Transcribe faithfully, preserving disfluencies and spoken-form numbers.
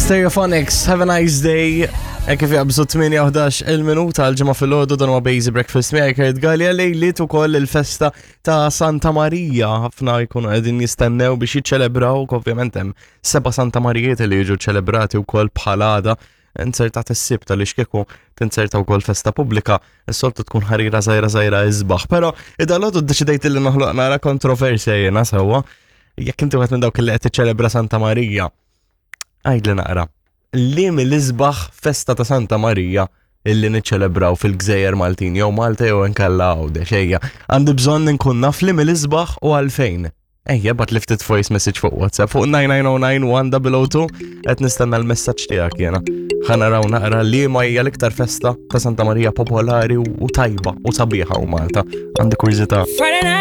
Stereophonics, have a nice day. E kif jaqbżu tmienja u ħdax il-minuta għal-Ġimgħa filgħodu, dan huwa Busy Breakfast miegħi Kurt Gallia. Lejliet ukoll il-festa ta' Santa Marija. Ħafna jkunu qegħdin jistennew biex jiċċelebraw, ovvjament hemm seba' Santa Marijiet li jiġu ċelebrati wkoll bħal għada inzertat is-Sibt, għaliex kieku tinzerta wkoll festa pubblika, is-soltu tkun ħarira żgħira żgħira isbaħ. Però id-dalodu ddeċidejt li noħloq nara kontroversja jiena sewwa. Jekk inti wieħed minn dawk li qed tiċċelebra Santa Marija, għidli naqra. Li mill-isbaħ festa ta' Santa Marija illi niċċelebraw fil-Gżejjer Maltin, jew Malta jew inkella Għawdex, ejja. Għandi bżonn nkun naf li mill-isbaħ u għalfejn. Ejja, ibgħatli ftit voice message fuq WhatsApp fuq nine nine zero nine one zero zero two, qed nistenna l-messaġġ tiegħek jiena. Ħa naraw naqra li ma hija l-iktar festa ta' Santa Marija popolari u tajba u sabiħa u Malta. Għandi kurżità. Friday night.